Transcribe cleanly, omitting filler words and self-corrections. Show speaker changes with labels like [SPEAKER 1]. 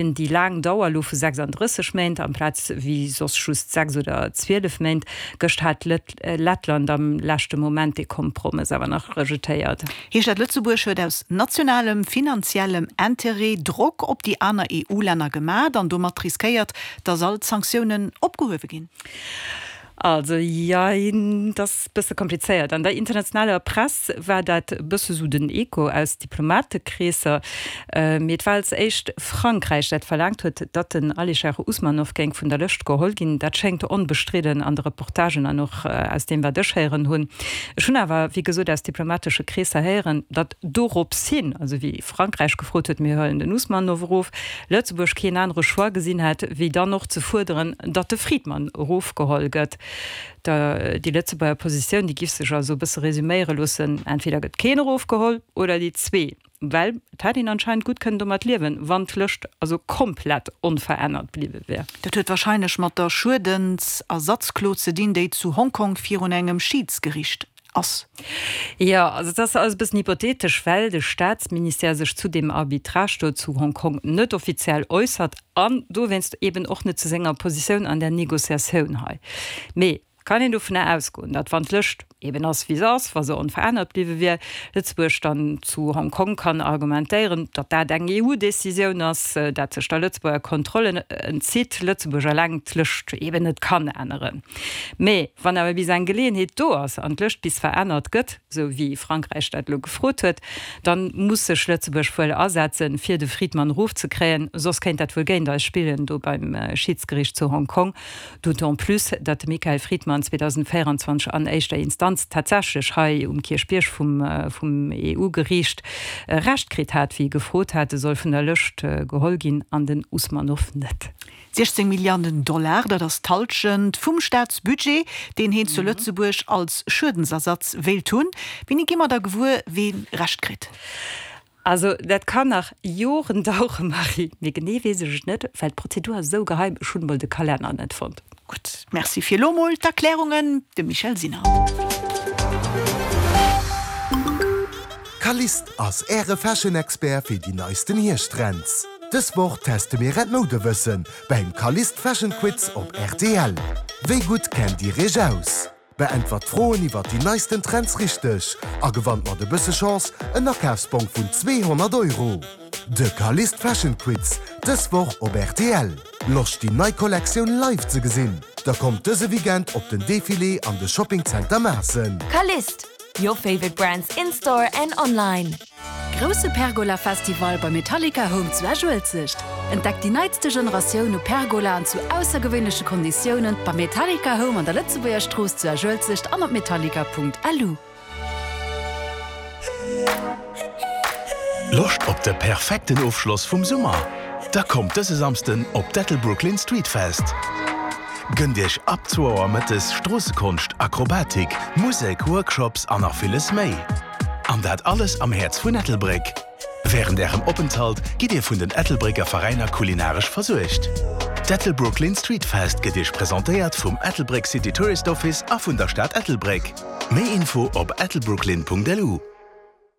[SPEAKER 1] Déi laang Dauer elo vu 36 Méint amplaz wéi soss just 6 oder 12 Méint. Gëscht hat Lettland am leschte Moment dee Kompromëss awer nach rejetéiert.
[SPEAKER 2] Heescht dat, Lëtzebuerg huet aus nationalem finanziellem Interêt Drock op déi aner EU-Länner gemat an domat riskéiert, datt all d'Sanktiounen opgehuewe ginn?
[SPEAKER 1] Also, jein, dat ass bësse komplizéiert. An der internationaler Press war dat e bësse sou den Echo aus Diplomatekreesser. Mee et war als éischt Frankräich, dat verlaangt huet, datt den Alisher Usmanov géing vun der Lëscht geholl ginn. Dat schéngt onbestridden an de Reportagen an och aus deem, wat ech héieren hunn. Ech hunn awer, wéi gesot, aus diplomatesche Kreesser héieren, datt dorops hin, also wéi Frankräich gefrot huet, mir huelen den Usmanov erof, Lëtzebuerg keen anere Choix gesinn hätt, wéi dann och ze fuerderen, datt de Fridman erofgeholl gëtt. Déi Lëtzebuerger Positioun, déi giff sech also e bësse resuméiere loossen, entweder gëtt keen erofgeholl oder déi zwee. Well et hätt een anscheinend gutt kënnen domat liewen, wann d'Lëscht also komplett onverännert bliwwe wär.
[SPEAKER 2] Dat huet warscheinlech mat der Schuedensersatzklo ze dinn, déi zu Hongkong virun engem Schiidsgericht ass.
[SPEAKER 1] Jo, also et ass alles e bëssen hypothetesch, well de Staatsministère sech zu deem Arbitrage do zu Hong Kong net offiziell äussert an dowéinst eben och net zu senger Positioun an där Négociatioun hei. Mee kann een dovunner ausgoen, datt wann d'Lëscht eben ass wéi se ass, wa se onverännert bliwwe wier, Lëtzebuerg dann zu Hong Kong kann argumentéieren, datt dat eng EU-Décisioun ass, dat sech der Lëtzebuerger Kontroll entzitt, Lëtzebuerg eleng d'Lëscht eben net kann änneren. Mee wann awer bis eng Geleeënheet do ass an d'Lëscht bis verännert gëtt, esou wéi Frankräich dat elo gefrot huet, da muss sech Lëtzebuerg wuel asetzen, fir de Fridman erofzekréien, soss kéint dat wuel géint eis spillen do beim Schidsgericht zu Hong Kong. D'autant plus, datt de Michael Fridman 2024 an éischter Instanz tatsächlech hei um Kierchbierg vum vum EU-Geriicht Recht kritt hat, wéi e gefrot hat, e soll vun der Lëscht geholl ginn an den Usmanov net.
[SPEAKER 2] 16 Milliarden Dollar, dat ass d'Hallschent vum Staatsbudget, deen heen zu Lëtzebuerg als Schuedensersatz wéilt hunn. Wéini gi mer da gewuer, ween Recht kritt?
[SPEAKER 1] Also dat kann nach Joren dauere, Marie. Mee genee weess ech et net, well d'Prozedur ass esou geheim, ech hunn emol de Kalenner net fonnt.
[SPEAKER 2] Gutt, Merci fir elo mol d'Erklärungen, de Michel Sinner.
[SPEAKER 3] Calliste ass Äre Fashion-Expert fir déi neisten Hierschttrends. Dës Woch teste mir äert Moudewëssen beim Calliste Fashion Quiz op rtl. Wéi gutt kennt Dir Iech aus? Beäntwert d'Froen iwwert déi neisten Trends richteg a gewannt mat e bësse Chance en Akafsbong vun 200 Euro. De Calliste Fashion Quiz dës Woch op rtl. Loscht déi nei Kollektioun live ze gesinn? Da kommt dëse Weekend op den Defilé an de Shopping Center Maassen.
[SPEAKER 4] Calliste, your favorite brands in store and online.
[SPEAKER 5] Grousse Pergola Festival bei Metallica Home zu Esch-Uelzecht. Entdeckt déi neitste Generatioun u Pergolaen zu aussergewéinleche Konditiounen beim Metallica Home an der Lëtzebuerger Strooss zu Esch-Uelzecht an op metallica.lu.
[SPEAKER 6] Loscht op de perfekten Ofschloss vum Summer? Da kommt dëse Samsden op d'Ettelbrooklyn Street Fest! Gënnt Iech ab zwou Auer mëttes Stroossekonscht, Akrobatik, Musek, Workshops an nach villes méi. An dat alles am Häerz vun Ettelbréck. Wärend Ärem Openthalt gitt Dir vun den Ettelbrécker Veräiner kulinaresch versuergt. D'Ettelbrooklyn Street Fest gëtt Iech presentéiert vum Ettelbréck City Tourist Office a vun der Stad Ettelbréck. Méi Info op ettelbrooklyn.lu.